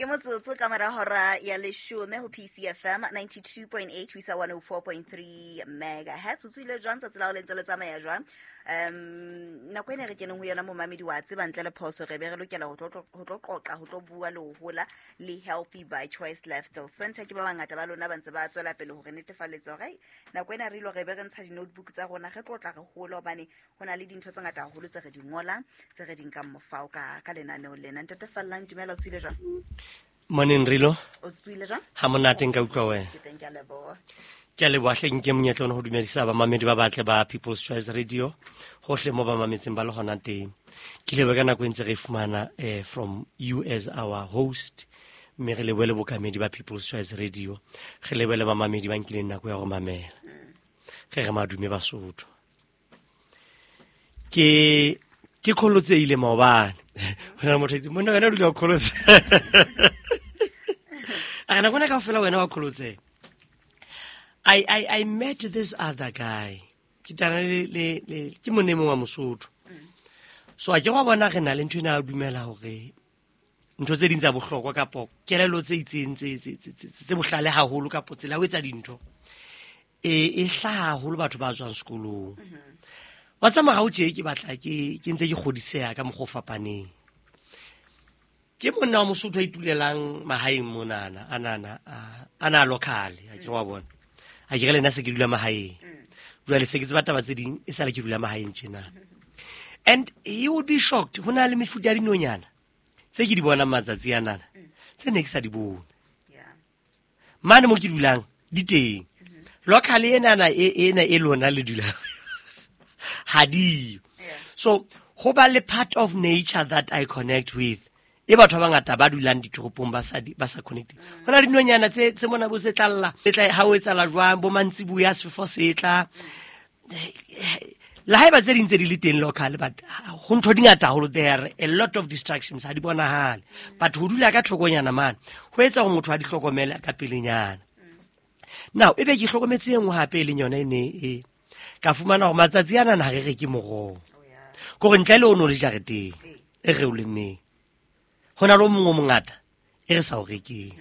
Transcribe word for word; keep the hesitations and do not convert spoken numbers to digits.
Ke motsotso ka mora hora ya leshome ho P C F M ninety-two point eight ho isa one oh four point three megahertz. O tswile jwang tsatsi la ho le ntse le tsamaya jwang? um nako ena re keneng ho yona, momamedi, wa tseba ntle le phoso re be re lokela ho tlo ho tlo qoqa, ho tlo bua le ho hola le Healthy by Choice Lifestyle Center. Ke ba bangata ba lona ba ntse ba tswela pele hore netefaletsa hore, ai, nako ena re ilo re be re ntsha di-notebook tsa rona, re tlotla re hola, hobane ho na le dintho tse ngata haholo tse re di ngolang, tse re di nkang mofao ka ka lenaneo lena. Ntate Fallang, dumela, o tswile jwang? Morning, Rilo. O tswile jwang? Ha monate, nka utlwa wena? Ke teng, ke a leboha. Ke a leboha hle. Nke monyetla ona ho dumedisa bamamedi ba batle ba People's Choice Radio hohle mo ba mametseng ba le hona teng. Ke lebohe ka nako e ntse re e fumana eh, from you as our host, mme re lebohe le bokamedi ba People's Choice Radio, re lebohe le bamamedi ba nkileng nako ya go mamela. Re re madume Basotho. Ke ke kgolotsehile maobane. Ho na le motho a itse, "Monna, wena o dula o kholotse." A re nako ena kaofela wena wa kholotseha. I, I, I met this other guy. Ke tana le, le, le, ke monna e mong wa Mosotho. So a ke wa bona re na le ntho ena ya ho dumela hore ntho tse ding tsa bohlokwa kapo kelello tse itseng tse tse tse tse tse bohlale haholo kapo tsela ya ho etsa dintho e e hlaha haholo batho ba tswang sekolong. Wa tsamaya o tje ke batla ke ke ntse ke kgodiseha ka mokgwa o fapaneng. Ke monna wa Mosotho a itulelang mahaeng monana, anana a ana a local, a ke wa bona. A ke re le nna se ke dula mahaeng. Jwale se ke tseba taba tse ding e sale ke dula mahaeng tjena. And he would be shocked. Ho na le mefuta ya dinonyana tse ke di bonang matsatsi anana tse ne ke sa di bone. Yeah Mane mo ke dulang di teng. Local enana e ena e lona le dula ha diyo. Yeah. So ho ba le part of nature that I connect with e batho ba bangata ba dulang ditoropong ba sa di- ba sa connect. Ho na le dinonyana tse tse mona bo se tlalla le tla ha o etsala jwang bo mantsibuya, sefefo se tla le haeba tse ding tse di le teng local, but ho ntho di ngata haholo. There are a lot of distractions, ha di bonahale, but ho dula ka thokonyana mane ho etsa hore motho a di hlokomele ka pelenyana. Now ebe ke hlokometse e nngwe hape e leng yona e ne e ka fumana hore matsatsi ana na ha re reke moroho. Oh yeah. Kore ntle le o no le jareteng e re o lemmeng, ho na le o mongwe o mongata e re sa o rekeng.